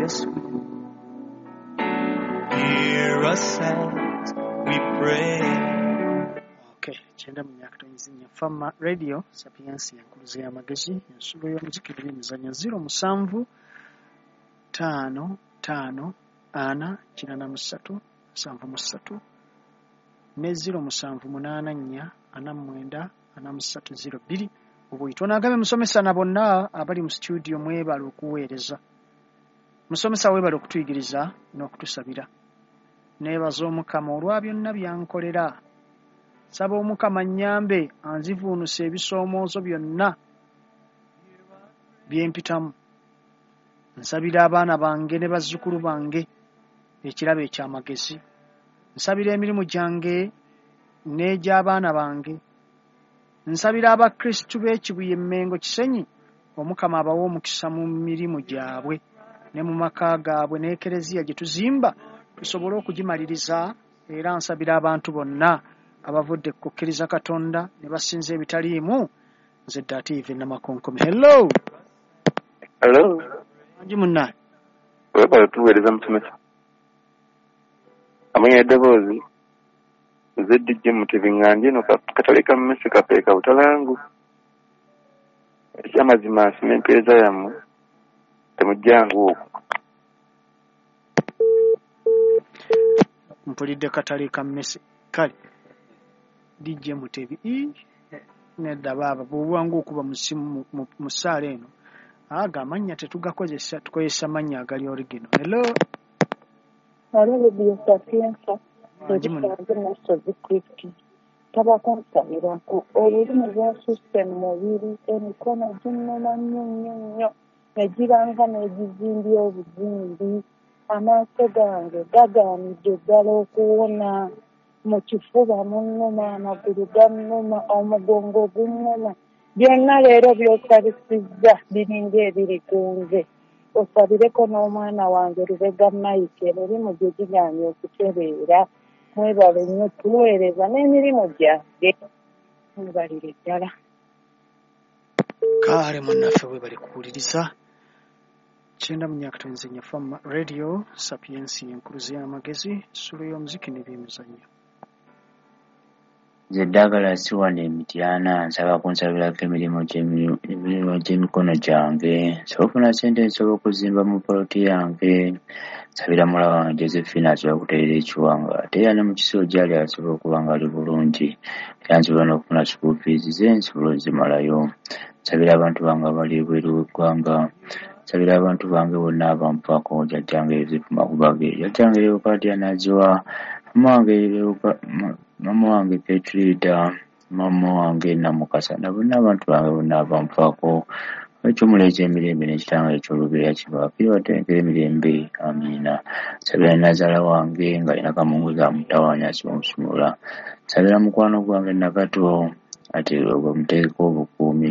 Yesu. Hear us as we pray. Okay, 94.4 Fama Radio Sapiensia enkuluze y'amagezi, ensulo y'omuziki n'emizannyo 07 5 5 4 83 73 ne 07 8 4 49 43 02. Obuyitwa n'agabe musomesa na bonna abali mu studio, mwebale okuweereza. Musomesa weebale okutuyigiriza n'okutusabira. Neebaza Omukama olwa byonna byankolera. Nsaba Omukama nnyambe anzivuunuse ebisoomoozo byonna bye mpitamu. Nsabira abaana bange ne bazzukulu bange ekirabo eky'amagezi. Nsabira emirimu gyange n'egy'abaana bange. Nsabira abakristu b'e Kibuye Mmengo Kisenyi, Omukama abawe omukisa mu mirimu gyabwe ne mu maka gaabwe n'ekereziya gye tuzimba tusobole okugimaliriza. Era nsabira abantu bonna abavudde ku kukkiriza Katonda ne basinza ebitaliimu. Nze Dative Namakonkomi. Hello. Hello. Anji munnaye. Webale tuweereza musomesa. Amanya eddoboozi nze DJ Mutebi nga ndi eno katale ka mmese kapeeka Butalangu. Ekyamazima nsima empeereza yammwe, temujjangu okwo. Mpulidde katale ka mmese. Kale DJ Mutebi nedda baaba bw'oba ng'okuba mu ssimu mu ssaala eno, ago amannya tetugakozesa, tukozesa mannya agali original. Hello. Hello, Radio Sapientia. Anji munnaye. Ebisanze Nasozi Kristo. Taba kunsabirako. Olulimi lwasusse mu mubiri, emikono ginnuma nnyo nnyo nnyo, ne giranga n'egizimbye obuzimbi. Amaaso gange gagaanidde ddala okuwona. Mu kifuba munnuma, amagulu gannuma, omugongo gunnuma. Byonna leero by'osabisizza biringa ebiri ku nze. Osabireko n'omwana wange Lubega Mike, emirimu gye gigaanye okutereera. Mwebale nnyo tuweereza n'emirimu gyange. Mwebalire ddala. Kale munnaffe weebale kuwuliriza. 94.4 Fama Radio Sapiensia enkuluze y'amagezi, ensulo y'omuziki n'ebyemizannyo. Nze Douglas wano e Mityana, nsaba kunsabirako emirimu gy'emikono gyange, nsobole okufuna ssente nsobole okuzimba mu poloti yange. Nsabira muwala wange Josephine asobole okutereera ekiwanga, ate era ne mu kisulo gy'ali asobole okuba ng'ali bulungi, era nsobole n'okufuna school fees ze nsobole ozimalayo. Nsabira abantu bange abali ebweru w'eggwanga, nsabira abantu bange bonna abanfaako, jjajjange Yosefu Makubage, jjajjange Leokadia Naziwa, mama wange Petrida, mama wange Namukasa, na bonna abantu bange bonna abanfaako. Eky'omuleezi emirembe n'ekitanga eky'olubeera kibaakire baterekere emirembe. Amiina. Nsabira nnazaala wange ng'alina kamunguza amutawaanya asobola omusumulula. Nsabira mukwano gwange Nakato ate bamuteekeko obukuumi.